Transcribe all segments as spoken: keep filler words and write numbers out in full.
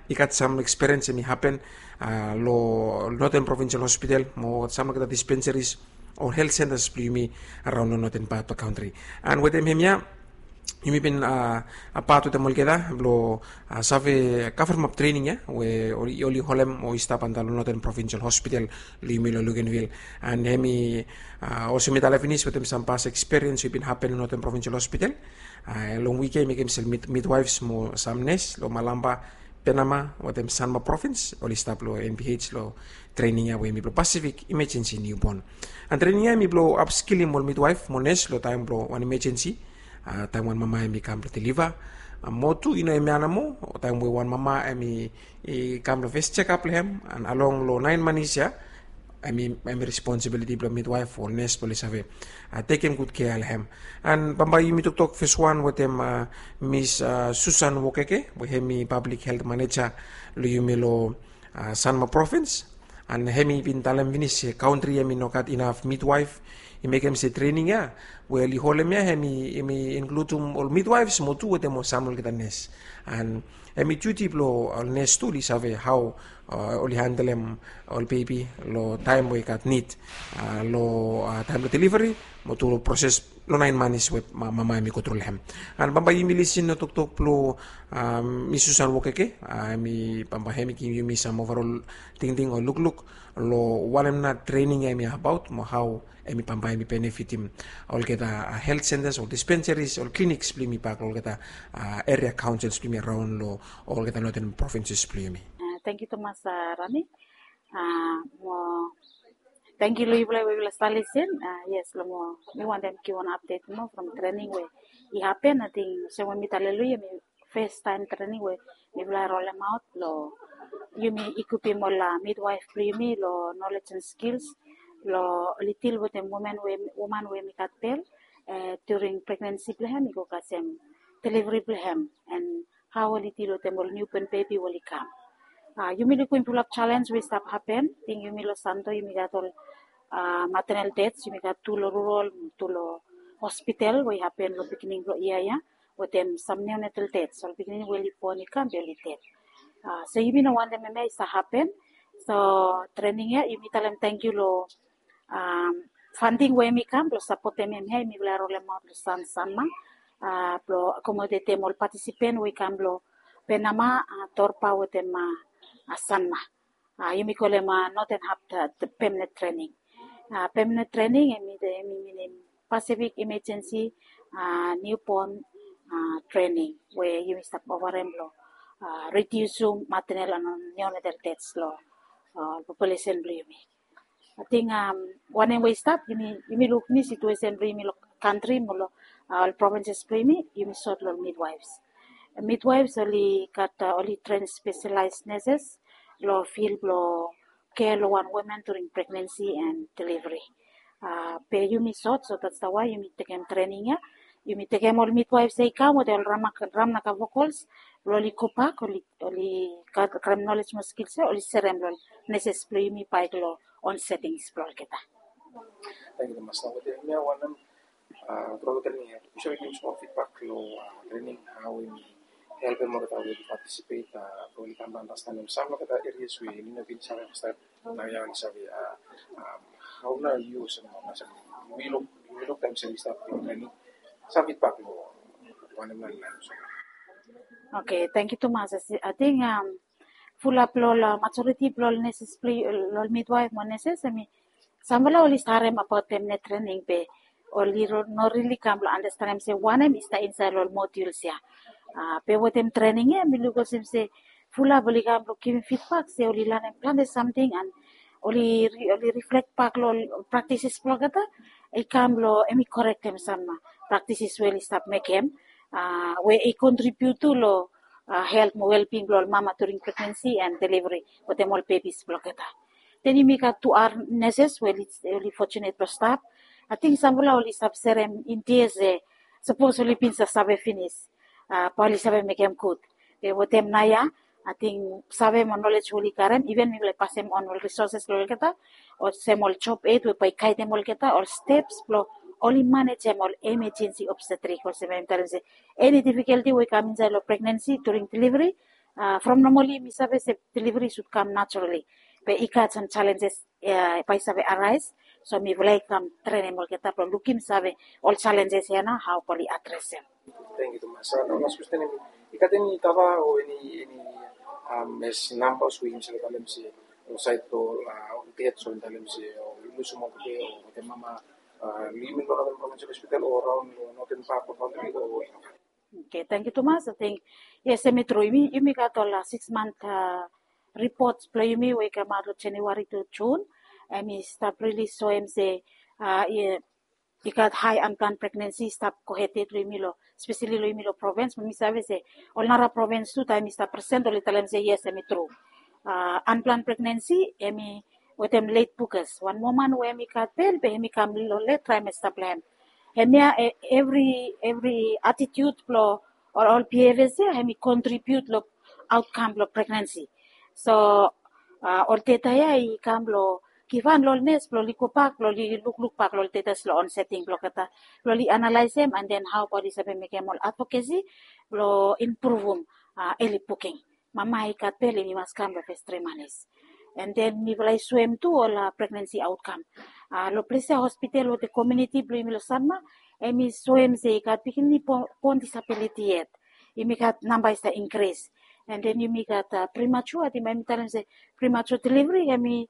I gat sam ekspiriens em i hapen long Northern Provincial Hospital mo sam olgeta dispensaries o health centers blong yumi araon long Northern part blong kantri. And wetem hemia yumi bin apat wetem olgeta blong save kavremap trening ya we oli holem o i stap antap long Northern Provincial Hospital long yumi long Luganville. And hemi olsem mi talem finis wetem sam pas ekspiriens we i bin hapen long Northern Provincial Hospital. Long wik ya i mekem sel midwives mo sam nes long Malampa, Penama wetem Sanma Province oli stap long N P H long trening ya we hemi blong Pacific Emergency Newborn. And trening ya hemi blong upskillim ol midwife mo nes long taem blong wan emergency, taem wan mama hemi kam blong deliver, mo tu i no hemia nomo, taem we wan mama hemi kam long fes jekap blong hem and along long naen manis ya, hemi responsibiliti blong midwife o nes blong oli save tekem gud kea long hem. And bambae yumi toktok fes wan wetem Miss Susan Wokeke we hemi public health manager long yumi long Sanma Province. And hemi bin talem finis se kantri hemi no gat inaf midwife. I mekem se trening ya we oli holem ya hemi inkludum ol midwives mo tu wetem ol sam olgeta nes. And hemi duti blong ol nes tu oli save hao oli handelem ol bebi long taem we i gat nid long taem blong delivery mo tu long proses long naen manis we mama hemi gotru long hem. And bambae yumi lisin long toktok blong Miss Susan Wokeke, hemi bambae hemi givim yumi sam overall tingting o lukluk long wanem nao trening ya hemi abaot mo hao hemi bambae hemi benefitim olgeta health centers o dispensaries o clinics blong yumi bak long olgeta area councils blong yumi araon long olgeta Northern Provinces blong yumi. Tangkiu tumas, Rani. Mo tangkiu long yufala we yufala stap lisin. Yes, long mo mi wantem givim wan apdet moa from trening we i hapen. Ating olsem we mi talem long yu, hemi fes taem trening we mifala rolemaot long yumi ikupim ol midwife blong yumi long nolej and skils long oli dil wetem woman we hemi gat bel during pregnancy blong hem i go kasem delivery blong hem, and hao oli dil wetem ol niuban bebi we oli kam. Yumi lukim fulap jalenj we i stap hapen. Ating yumi long Santo yumi gat ol maternal deaths, yumi gat tu long rural, tu long hospital we i hapen long beginning blong yia ya wetem sam neonatal deaths, ol pikinini we oli bon i kam be oli ded. So yumi no wantem hemia i stap hapen. So trening ya yumi talem tangkiu long funding we hemi kam blong sapotem hemia, yumi mifala rolemaot long San Sanma blong akomodetem ol patisipent we i kam long Penama, Torba wetem Sanma. Yumi kolem noten hap permanent trening. Permanent trening hemi minim Pacific Emergency Newborn Trening we yumi stap ofarem blong ridiusim maternal and neonatal deaths long populesen blong yumi. Ating wanem we i stap, yumi luk ni situesen blong yumi long kantri mo long ol provinses blong yumi, yumi sot long midwives. Midwives oli gat, oli tren spesialaes neses long fil blong kea long wan woman during pregnancy and delivery. Be yumi sot, so that's the why yumi tekem trening ya. Yumi tekem ol midwives ya i kam wetem ol Ramnagar Vokols blong oli gobak, oli karem nolej mo skils ya oli serem long neses blong yumi bae i go long on settings blong olgeta. Tangkiu tumas. Nao wetem hemia wanem, turaga trening ya, yu save givim smol fidbak long trening, hao hemi helpem olgeta we oli patisipet blong oli kam blong andastanem sam long olgeta erias we oli no bin save fastaem, naoia oli save. Hao nao yu olsem, yumi luk taem se oli stap long trening, sam fidbak long wanem nao oli laen olsem? Oke, tangkiu tumas. Ating fulap long ol majoriti blong ol neses blong ol midwaef mo neses hemi samfala oli stap harem abaot permanent trening be oli no rili kam blong andastanem se wanem i stap insaed long ol moduls ya. Be wetem trening ya mi luk olsem se fulap oli kam blong givim fidbak se oli lanem plante samting and oli oli riflek bak long ol praktises blong olgeta i kam long hemi korektem sam praktises we oli stap mekem we i kontribiut tu long helt mo welbing blong ol mama during pregnancy and delivery wetem ol bebis blong olgeta. Den yumi gat tu ar neses we oli fojunet blong stap. Ating samfala oli stap serem india se sapos oli bin save finis bae oli save mekem gud. Be wetem naoia ating save mo nolej we oli karem, iven mifala i pasem on ol risoses long olgeta olsem ol job eit we bae i gaedem olgeta ol steps blong oli manejem ol emejensi obstetrik olsem em talem se eni difikalti we i kam insaed long pregnansi during deliveri, From normali mi save se delivery sud kam naturali, be i gat sam challenges bae i save arais. So mifala i kam trenem olgeta blong lukim save ol challenges ya na hao bae oli adresem. Thank you tumas. Las question, em i gat eni data o eni eni mes numbers we yumi save talem se ol sait ol ded so talem se ol lusim ol bebe o wetem mama, yumi long Northern Provincial Hospital o raon long Northern part of country o? Okay, thank you tumas. I think yes, em i tru. Yumi gat ol six month report blong yumi we i kamaot long January to June. Em i stap rili soem se i gat high unplanned pregnancy i stap gohed yet long yumi long, especially long yumi long provins. Be mi save se ol nara provins tu taem mi stap present oli talem se yes, em i tru. Unplanned pregnancy em i wetem late pukas. Wan woman we em i gat bel be em i kam long late trimester blong em. Hemia evri evri attitude blong ol ol behaviors ya em i contribute long outcome blong pregnancy. So ol data ya i kam long givhan long ol nes blong oli gobak blong oli lukluk bak long ol data long onsetting blong olgeta, blong oli analaesem and then hao bae oli save mekem ol advocacy blong impruvum early booking. Mama i gat bel em i mas kam long fes tri manis. And then mifala i soem tu ol pregnancy outcome. Long ples ya hospital wetem komuniti blong yumi long Sanma, em i soem se i gat pikinini born disability yet. Yumi gat namba i stap increase. And then yumi gat premature, ating bae mi talem se premature delivery em i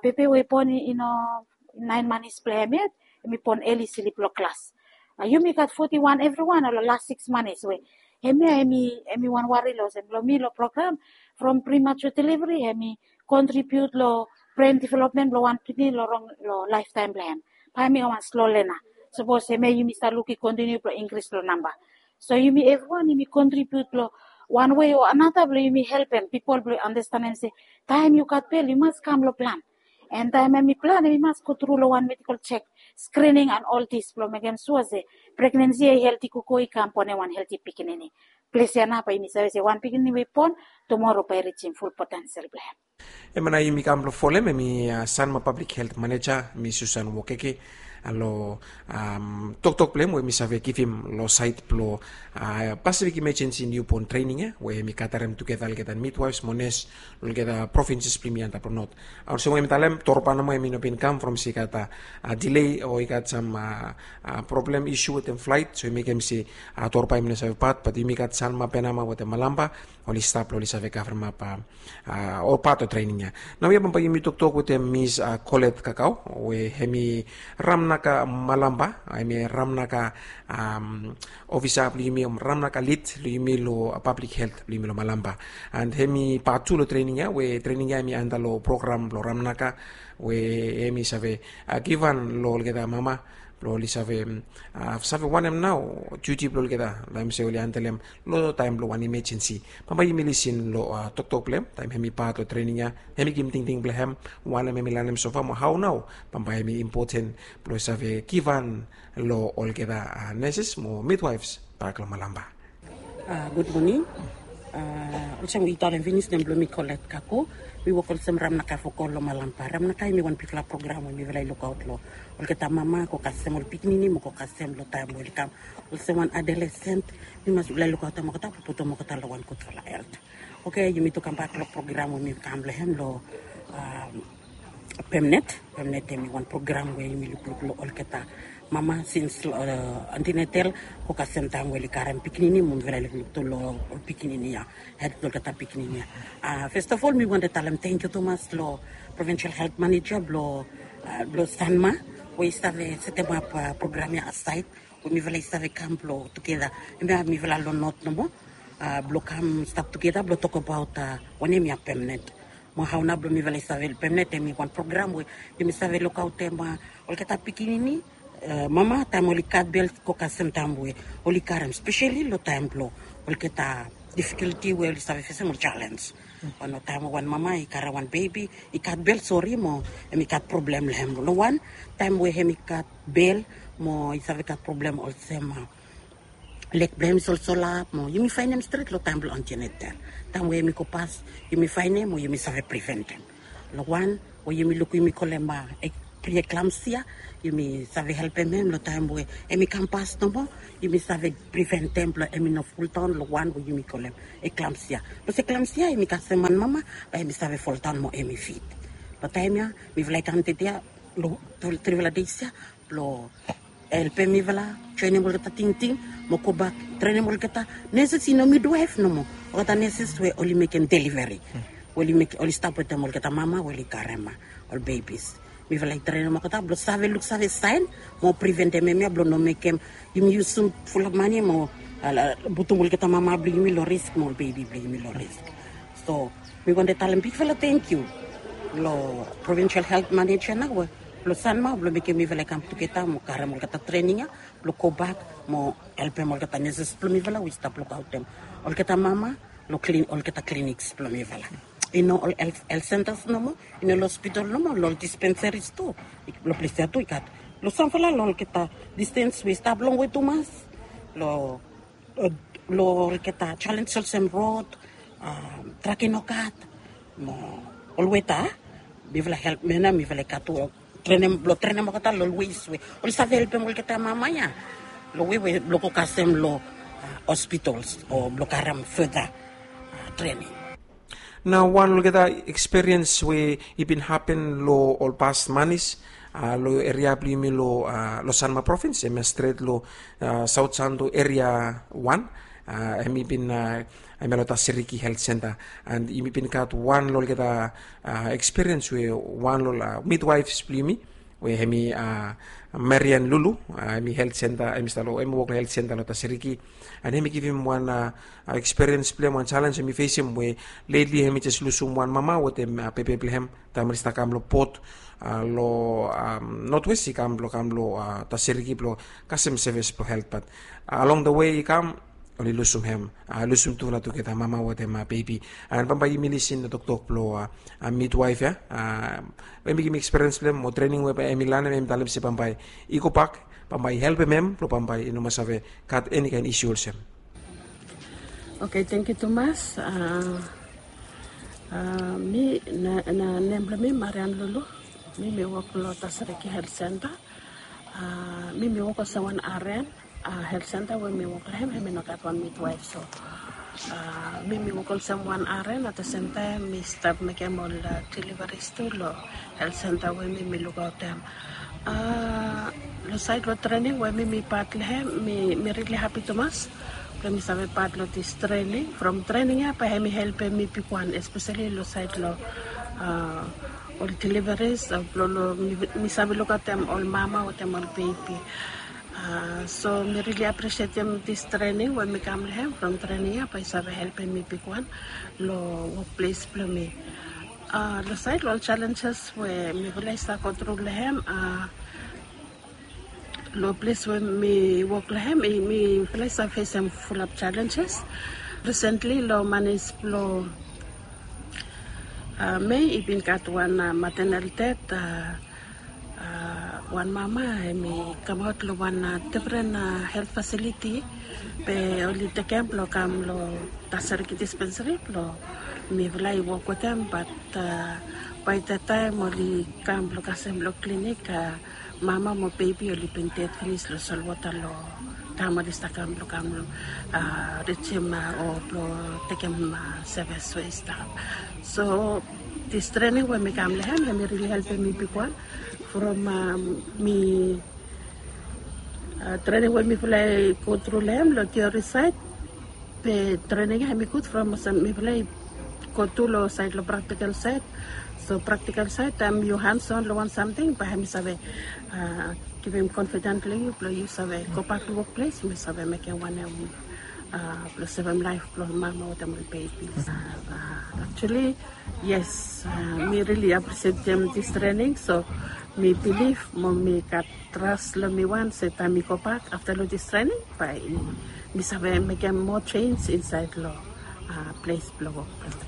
bebe we i born i no nine months blong em yet, em i born early slip long klas. Yumi gat forty one evriwan long las six months we hemia em i wan wari long olsem long mi long program from premature delivery em i contribute long brain development blong wan pikinini long rong long lifetime blong em. Bae em i wan slow learner. Sapos hemia yumi stap luk i continue blong increase long namba. So yumi evriwan yumi contribute long wan way o another blong yumi helpem pipol blong andastanem se taem yu gat bel yu mas kam long plan. And taem em i plan em i mas go tru long wan medical check, screening and all this blong mekem sua se pregnancy ya i healthy gogo i kam born em wan healthy pikinini. Ples ya nao bae yumi save se wan pikinini we i born tumora bae i rijim full potential blong em. Hemia nao yumi kam blong folem hemi Sanma Public Health Manager, Miss Susan Wokeke, long toktok blong hem we mi save givim long sait blong Pacific Emergency Newborn Training ya we mi gatarem tugeta olgeta midwives mo nes long olgeta provinces blong yumi antap long not. Olsem we mi talem, Torpa nomo hemi no bin kam from se i gat delay o i gat sam problem issue wetem flight, so i mekem se Torpa hemi no save pat, bat yumi gat Sanma, Penama wetem Malampa oli stap long oli save kavremap ol pat o trening ya. Naoia bambae yumi toktok wetem Miss Colette Kakau we hemi Ramnaka Malampa, hemi Ramnaka ofisa blong yumi, Ramnaka lid blong yumi long public health blong yumi long Malampa. And hemi pat tu long trening ya we trening ya hemi anda long program blong Ramnaka we hemi save givhan long olgeta mama blong oli save save wanem nao duty blong olgeta long hem se oli handlem long taem blong wan emergency. Bambae yumi lisin long toktok blong hem taem hemi pat long trening ya, hemi givim tingting blong hem wanem hemi lanem sofa mo hao nao bambae hemi impoten blong save givhan long olgeta nurses mo midwives bak long Malampa. Gud moning. Olsem we yu talem finis, nem blong mi Colette Kakau. Mi wok olsem Ramnaka fokol long Malampa. Ramnaka hemi wan bigfala program we mifala i lukaot long olgeta mama go kasem ol pikinini mo go kasem long taem we oli kam olsem wan adolescent. Mi mas mifala i lukaotem olgeta blong putum olgeta long wan gudfala helt. Oke, yumi tu kambak long program we mi kam long hem long Pemnet. Pemnet hemi wan program we yumi lukluk long olgeta mama sins long antenatal go kasem taem we oli karem pikinini mo mifala i lukluk tu long ol pikinini ya, helt blong olgeta pikinini ya. Fes of ol mi wantem talem tangkiu tumas long Provincial Health Manager blong blong Sanma we i stap setemap program ya asaed we mifala i save kam blong tugeta. Hemia mifala long not nomo blong kam stap tugeta blong tokbaot wanem ya Pemnet. Mo hao nao blong mifala i save Pemnet hemi wan program we yumi save lukaotem olgeta pikinini mama taem oli gat bel go kasem taem we oli karem, speseli long taem blong olgeta difikulti we oli save fesem, ol jalens. Wan taem we wan mama i karem wan bebi i gat bel, sori, mo hemi gat problem long hem. Long wan taem we hemi gat bel mo i save gat problem olsem lek blong hem i solsolap mo yumi faenem stret long taem blong antenatal. Taem we hemi go pas yumi faenem mo yumi save preventem. Long wan we yumi lukim yumi kolem eklamsia, yumi save helpem hem long taem we hemi kam pas nomo, yumi save preventem blong hemi no fuldaon long wan we yumi kolem eklamsia. Bikos eklamsia hemi kasem wan mama bae hemi save fuldaon mo hemi fit. Long taem ya mifala i kam tede ya long trifala deis ya blong helpem mifala joenem olgeta tingting mo gobak trenem olgeta neses, i no midwaef nomo, olgeta neses we oli mekem deliveri, oli stap wetem olgeta mama we oli karem ol bebis. Mifala i trenem olgeta blong save luksave saen mo priventem hemia blong no mekem yumi yusum fulap mane mo putum olgeta mama blong yumi long risk mo ol bebi blong yumi long risk. So mi wantem talem bigfala tangkiu long provincial health manager na we blong Sanma blong mekem mifala i kam tugeta mo karem olgeta trening ya blong gobak mo helpem olgeta neses blong mifala we i stap lukaotem olgeta mama long olgeta clinics blong mifala. I no ol health centers nomo, i no long hospital nomo, long ol dispensaries tu. Long ples ya tu i gat long samfala long olgeta distance we i stap longwe tumas, long olgeta challenge olsem rod, traki no gat, mo ol weta. Mifala help mena mifala i gat tu trenem blong trenem olgeta long ol ways we oli save helpem olgeta mama ya long we we blong go kasem long hospitals o blong karem further trening. Nao wan olgeta ekspiriens we i bin hapen long ol past manis long eria blong yumi long Sanma provins, hemia stret long Saut Santo eria wan, hemi bin hemia long Tasiriki Health Center. And yumi bin gat wan long olgeta ekspiriens we wan long midwaefs blong yumi we hemi Marian Lulu, hemi health center, hemi stap long hemi wok long health center long Tasiriki. And hemi givim wan ekspiriens blong hem, wan jalenj hemi fesim we letli hemi jes lusum wan mama wetem bebe blong hem taem oli stap kam long bot long Northwest i kam blong kam long Tasiriki blong kasem sevis blong health, bat along the way i kam oli lusum hem, lusum tufala tugeta mama wetem bebi. And bambae yumi lisin long toktok blong midwaef ya, hemi givim ekspiriens blong hem mo trening we bae hemi lanem, hemi talem se bambae i gobak, bambae i helpem hem blong bambae i no mas save gat eni kaen isu olsem. Oke, tangkiu tumas. Mi na nem blong mi Marian Lulu. Mi mi wok long Tasiriki Health Center. Mi mi wok olsem wan aren. Health center we mi wok long hem, hemi no gat wan midwaef, so mi mi wok olsem wan aren, at the same time mi stap mekem ol deliveries tu long health center we mi mi lukaotem. Long saed long trening we mi mi pat long hem, mi mi rili hapi tumas blong mi save pat long dis trening. From trening ya bae hemi helpem mi bigwan, espeseli long saed long ol deliveries, blong mi save lukaotem ol mama wetem ol bebi. So mi rili apresietem dis trening we mi kam long hem. From trening ya bae i save helpem mi bigwan long wokples blong mi. Long saed long ol jalenjes we mifala i stap gotru long hem, long ples we mi wok long hem, mifala i stap fesem fulap jalenjes. Risentli long manis blong Mei i bin gat wan maternal death, wan mama hemi kamaot long wan difren health facility, be oli tekem blong kam long Tasiriki dispensary blong mifala i wok wetem, bat bae that taem oli kam blong kasem long klinik, mama mo bebi oli bin ded finis long solwota long taem oli stap kam blong kam rijim o blong tekem sevis we i stap. So dis trening we mi kam long hem, hemi rili helpem mi bigwan. From mi trening we mifala i gotru long hem long tiori saed, be trening ya hemi gud from olsem mifala i go tu long saed long praktikal saed. So praktikal saed taem yu hands on long wan samting, bae hemi save givim konfiden long yu blong yu save gobak long wokples, yu save mekem wanem blong sevem laef blong mama wetem ol bebis. Aktuali yes, mi rili apresietem dis trening, so mi bilif mo mi gat tras long mi wan se taem mi gobak afta long dis trening, bae mi save mekem moa jenis insaed long ples blong wok blong mi.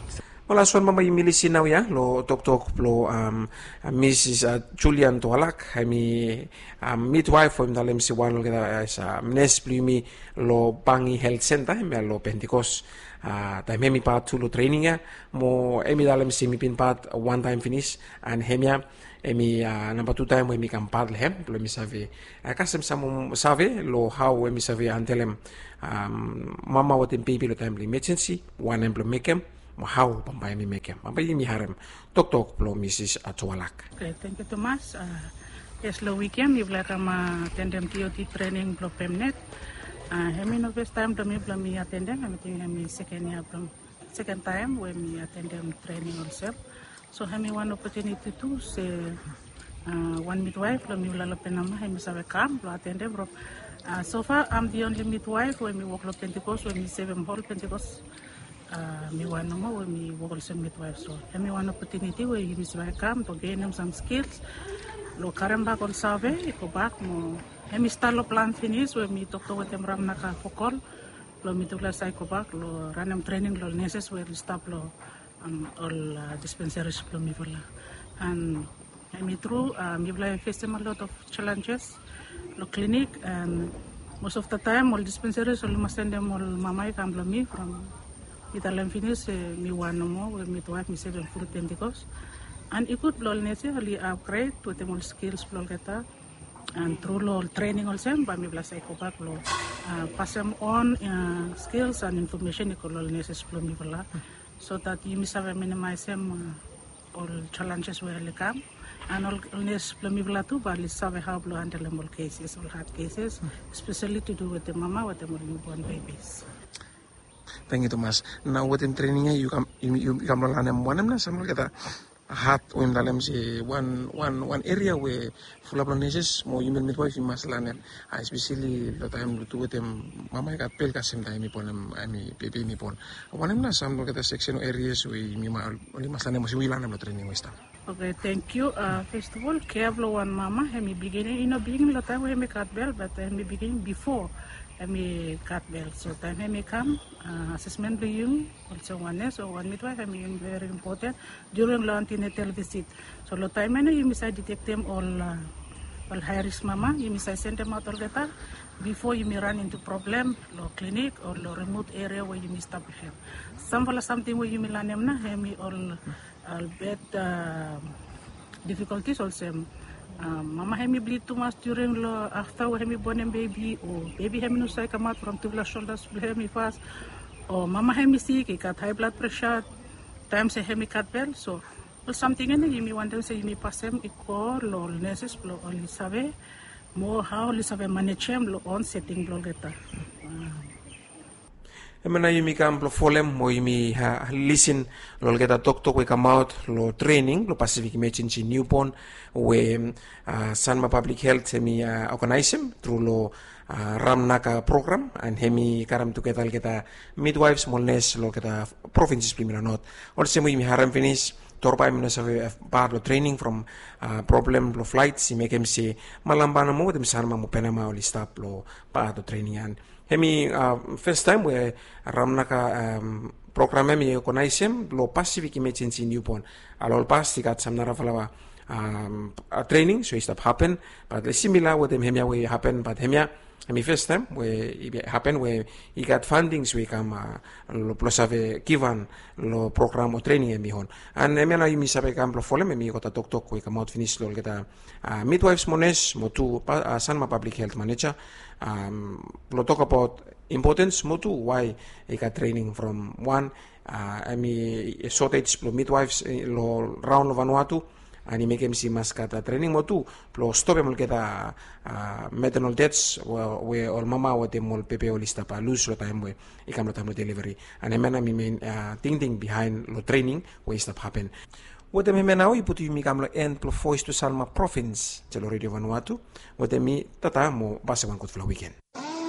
Wel, as wan mama yumi lisin naoia long toktok blong Misis Julian Toalak, hemi midwaef we mi talem se wan olgeta as nes blong yumi long Bangi Health Center hemia long Pentecost. Taem hemi pat tu long trening ya, mo hemi talem se mi bin pat wan taem finis. And hemia hemi namba tu taem we mi kam pat long hem blong mi save kasem sam save long hao we mi save handelem mama wetem bebi long taem blong imajensi, wanem blong mekem, mo hao bambae mi mekem. Bambae yumi harem toktok blong Misis Atualak. Oke, tangkiu tumas. Yes, long wik ya mifala i kam atendem T O T trening blong pemnet. Hemi no fes taem blong mi blong mi atendem, hemi ting hemi seken ya blong seken taem we mi atendem trening olsem. So hemi wan opotuniti tu se wan midwaef blong mifala long Penama hemi save kam blong atendem from. Sofa am di onli midwaef we mi wok long Pentikos we mi sevem hol Pentikos. Mi wan nomo we mi wok olsem midwaef. So hemi wan opotuniti we yumi save kam blong genem sam skils blong karem bak ol save i go bak mo hemi stat long plan finis we mi toktok wetem Ramnaka Fokol blong mitufala save go bak long ranem trening long ol neses we oli stap long ol dispensaris blong mifala. And hemi tru, mifala i fesem a lot of challenges long klinik, and most of the time ol dispensaris oli mas sendem ol mama i kam long mi from mi talem finis se mi wan nomo we midwaef mi sevem ful Pentikos. And i gud blong ol nes ya oli upgrade wetem ol skils blong olgeta. And tru long ol trening olsem bae mifala save go bak long pasem on skils and infomesen i go long ol neses blong mifala, so that yumi save minimaesem ol challenges we oli kam. And ol nes blong mifala tu bae oli save hao blong handelem ol keses, ol had keses, espeseli to do wetem mama wetem ol niubon bebis. Tangkiu tumas. Nao wetem trening ya yu kam long lanem wanem nao sam olgeta had we yumi talem se wan wan wan eria we fulap long neses mo yumi midwaef i mas lanem, espeseli long taem long tu wetem mama i gat bel kasem taem i bonem, hemi bebi hemi bon. Wanem nao sam olgeta seksen o erias we yumi mas lanem olsem we yu lanem long trening we i stap? Oke, tangkiu. Fes of ol, kea blong wan mama hemi bigin, i no bigin long taem we hemi gat bel, bat hemi bigin bifo hemi gat bel. So taem hemi kam, asesmen blong yumi olsem wan nes o wan midwaef hemi veri impoten during long antinatal visit. So long taem ya nao yumi save ditektem ol ol hae risk mama, yumi save sendemaot olgeta bifo yumi ran into problem long klinik o long rimot eria we yumi stap long hem. Samfala samting we yumi lanem nao hemi ol bad difikoltis olsem mama hemi blid tumas during long afta we hemi bonem bebi, o bebi hemi no save kamaot from tufala soldas blong hemi fas, o mama hemi sik, i gat hae blad presa taem se hemi gat bel. So ol samting ya nao yumi wantem se yumi pasem i go long ol neses blong oli save moa hao oli save manejem long on seting blong olgeta. Hemia nao yumi kam blong folem o yumi lisin long olgeta toktok we i kamaot long trening blong Pacific Emergency Newborn we Sanma Public Health hemi oganaesem tru long Ramnaka program, and hemi karem tugeta olgeta midwaefs mo ol nes long olgeta provinses blong yumi long not. Olsem we yumi harem finis, Torba hemi no save pat long trening from problem blong flaets i mekem se Malampa nomo wetem Sanma mo Penama oli stap long pat long trening ya. Hemi fes taem we Ramnaka program ya hemi oganaesem long Pacific Emergency Newborn. Long pas i gat sam narafala trening so i stap hapen, bat simila wetem hemia we i hapen, bat hemia hemi fes taem we i hapen we i gat fandings we i kam blong save givhan long program o trening hemi on. And hemia nao yumi save kam blong folem hemi olgeta toktok we i kamaot finis long olgeta midwaefs mo nes mo tu Sanma Public Health Maneja blong tokbaot impotens mo tu wae i gat trening from wan hemi sotej blong midwaefs long raon long Vanuatu, and i mekem se i mas gat trening mo tu blong stopem olgeta maternal deaths we ol mama wetem ol pepe oli stap lus long taem we i kam long taem blong deliveri. And hemia nao hemi men tingting bihaen long trening we i stap hapen. Wetem hemia nao i putum yumi kam long en blong Voes blong Sanma Provins long Redio Vanuatu. Wetem mi, tata mo pasa wan gudfala wiken.